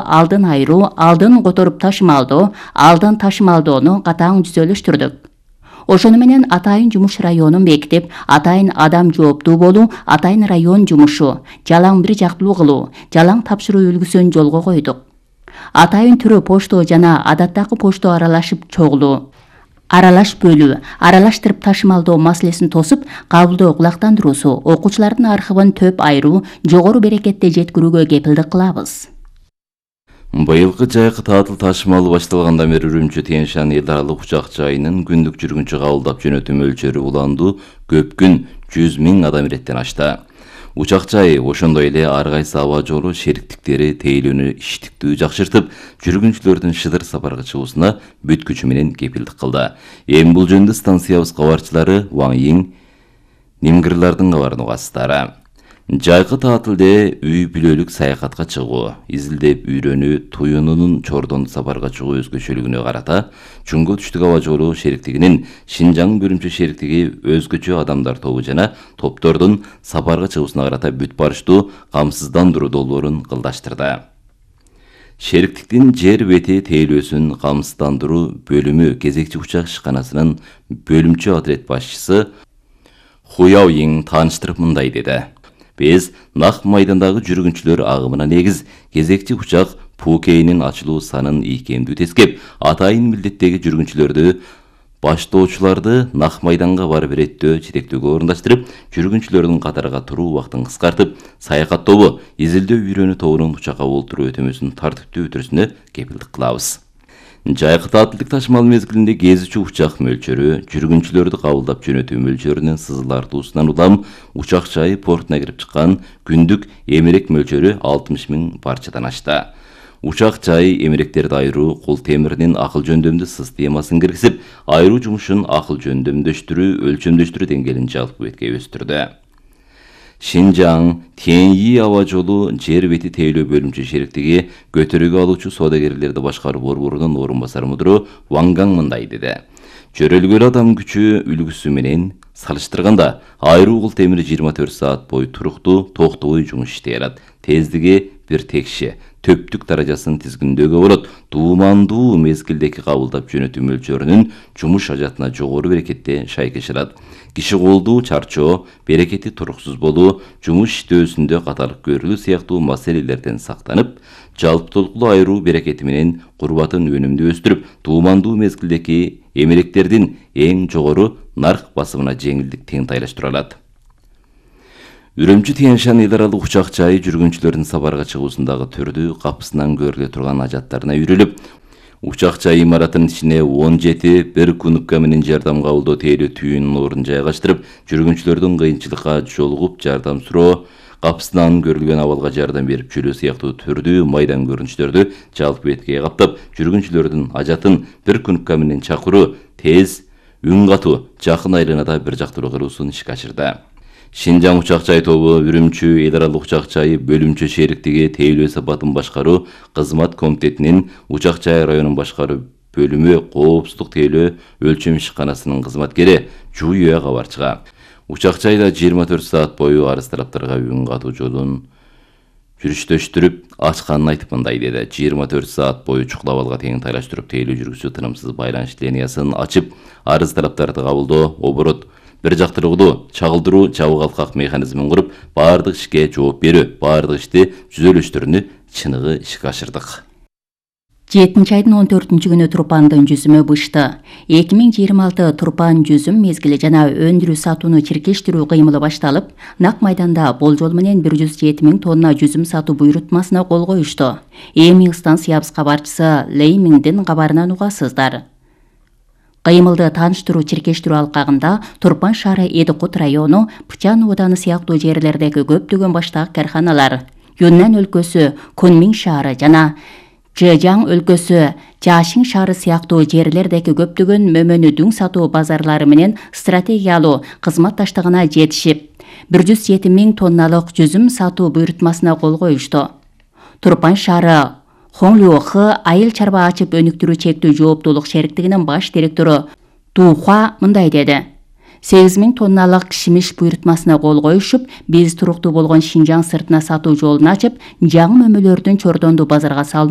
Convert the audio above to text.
алдын айыруу, алдын которуп ташымалдоо, алдын ташымалдоону катаң түзөлүштүрдүк. Ошону менен атайын жумуш районун бекитип, атайын адам жооптуу болуу, атайын район жумушу, жалаң бир жактылуу кылуу, жалаң тапшыруу үлгүсүн жолго койдук. Атайын түрү почто жана адаттагы почто аралашып чогулуу, аралаш бөлүү, аралаштырып ташымалдоо маселесин тосуп, кабылдоо кулактандыруусу, окуучулардын архивин төп айыруу, жогору берекетти жеткирүүгө кепилдик кылабыз. Быйылкы жайкы таатыл ташымалы башталгандан бери Үрүмчү Тянь-Шань эл аралык учак жайынын күндүк жүргүнчү кабылдап жөнөтүү мөлчөрү уланду көп күн 100 000 адам иреттен ашты. Учак жайы ошондой эле ар кайсы аба жолу шериктиктери тейлөөнү иштиктүү жакшыртып, жүргүнчүлөрдүн шыдыр сапарга чыгуусуна бүт күчү менен кепилдик кылды. Эми бул жөнүндө станциябыз кабарчылары Ван Йиң, Нимгырлардын кабарын угасыздар. Жайкы таатылде үй бүлөлүк саякатка чыгуу, изилдеп үйрөнүү, туюнунун Чордон сапарга чыгуу өзгөчөлүгүнө карата Чуңгу түштүк аба жолу шериктигинин Шинжаң бөлүмчө шериктиги өзгөчө адамдар тобу жана топтордун сапарга чыгуусуна карата бүт барыштуу камсыздандыруу долбоорун кылдаштырды. Шериктиктин жер бети тейлөөсүн камсыздандыруу бөлүмү кезекчи учак ишканасынын бөлүмчө отряд башчысы Ху Яойиң тааныштырып мындай деди. Биз Нак майдандагы жүргүнчүлөр агымына негиз кезекчи учак Пукейнин ачылуу санын ийкемдүү тескеп, атайын милдеттеги жүргүнчүлөрдү баштоочуларды Нак майданга барып иреттөө жетектөөгө орундаштырып, жүргүнчүлөрдүн катарга туруу убактын кыскартып, саякат тобу, изилдөө үйрөнүү тобунун учакка олтуруу өтөмөсүн тартиптүү өтүрүшүнө кепилдик кылабыз. Жайкы таатылдык ташымал мезгилинде кезүүчү учак мөлчөрү, жүргүнчүлөрдү кабылдап жөнөтүү мөлчөрүнүн сызылартуусунан улам учак жайы портуна кирип чыккан күндүк эмерек мөлчөрү 60 000 парчадан ашты. Учак жайы эмеректерди айыруу, кул темиринин акыл жөндөмдүү системасын киргизип, айыруу жумушун акыл жөндөмдөштүрүү, өлчөмдөштүрүү деңгээлин жалпы бетке өстүрдү. Шинжаң Тянь-Шань аба жолу жер бети тейлөө бөлүмчө шериктиги көтөрүүгө алуучу соодагерлерди башкаруу борборунун орун басары мудуру Ван Гаң мындай деди. Чөрөлгөл адам күчү үлгүсү менен салыштырганда айруу кул темир 24 саат бою туруктуу, токтобой жумуш иштей алат. Тездиги бир текши, төптүк даражасын тизгиндөөгө болот. Туумандуу мезгилдеги кабылдап жөнөтүү мөлчөрүнүн жумуш ажатына жогору берекетте шайкеш алат. Киши колдуу чарчоо, берекети туруксуз болуу, жумуш иштөөсүндө каталык көрүлүү сыяктуу маселелерден сактанып, жалптуулуктуу айыруу берекети менен курбатын өнүмдү өстүрүп, туумандуу мезгилдеги эмеректердин эң жогору нарк басымына жеңилдик теңтайлаштыра алат. Үрүмчү Тянь-Шань эл аралык учак жайы жүргүнчүлөрдүн сапарга чыгуусундагы түрдүү капысынан көрүлө турган ажаттарына үйрүлүп, учак жай имаратынын ичине 17 бир кунупка менен жардам кабылдоо тейлөө түйүнүн ордун жайгаштырып, жүргүнчүлөрдүн кыйынчылыкка жолугуп жардам суроо, капысынан көрүлгөн абалга жардам берип жүрүү сыяктуу түрдүү майдан көрүнүштөрдү жалпы бетке каптап, жүргүнчүлөрдүн ажатын бир кунупка менен чакыруу, тез, үн катуу, жакын айланада бир жактылуу кылуусун ишке ашырды. Шинжаң учак жай тобу Үрүмчү эл аралык учак жайы бөлүмчө шериктиги тейлөө сапатын башкаруу кызмат комитетинин учак жай районун башкаруу бөлүмү коопсуздук тейлөө өлчөм ишканасынын кызматкери Жу Юэ кабарчыга. Учак жайда 24 саат бою арыз талаптарга үн катуу жолун жүрүштөштүрүп ачканын айтып мындай деди. 24 саат бою чукул абалга тең тайлаштырып тейлөө жүргүзүү тынымсыз байланыш линиясын ачып, арыз талаптарды кабылдоо, оборот, бир жактылыктуу чагылдыруу жабык алкак механизмин куруп, баардык ишке жооп берүү, баардык ишти түзөлүштөрүнү чыныгы ишке ашырдык. 7-айдын 14-күнү турпандын жүзүмө бышты. 2026 турпан жүзүм мезгили жана өндүрүү сатууну чиркештирүү кыймылы башталып, Нак майданда болжол менен 107 000 тонна жүзүм сатуу буйрутмасына кол коюшту. Эми станциябыз кабарчысы Лей Миндин кабарынан угасыздар. Кыймылды тааныштыруу чиркештирүү алкагында Турпан шаары Эдикут району, Пычан ооданы сыяктуу жерлердеги көптөгөн баштагы карханалар, Юннан өлкөсү Кунмин шаары жана Чжэжяң өлкөсү Жашин шаары сыяктуу жерлердеги көптөгөн мөмөнү дүң сатуу базарлары менен стратегиялуу кызматташтыгына жетишип, 107 000 тонналык жүзүм сатуу буйрутмасына кол коюшту. Турпан шаары Хонглюхы айыл чарба ачып өнүктүрүү чектүү жооптуулук шериктигинин баш директору Тухуа мындай деди. 8 000 тонналык кишмиш буйрутмасына кол коюшуп, биз туруктуу болгон Шинжаң сыртына сатуу жолун ачып, жаңы мөмөлөрдүн Чордонду базарга салынуу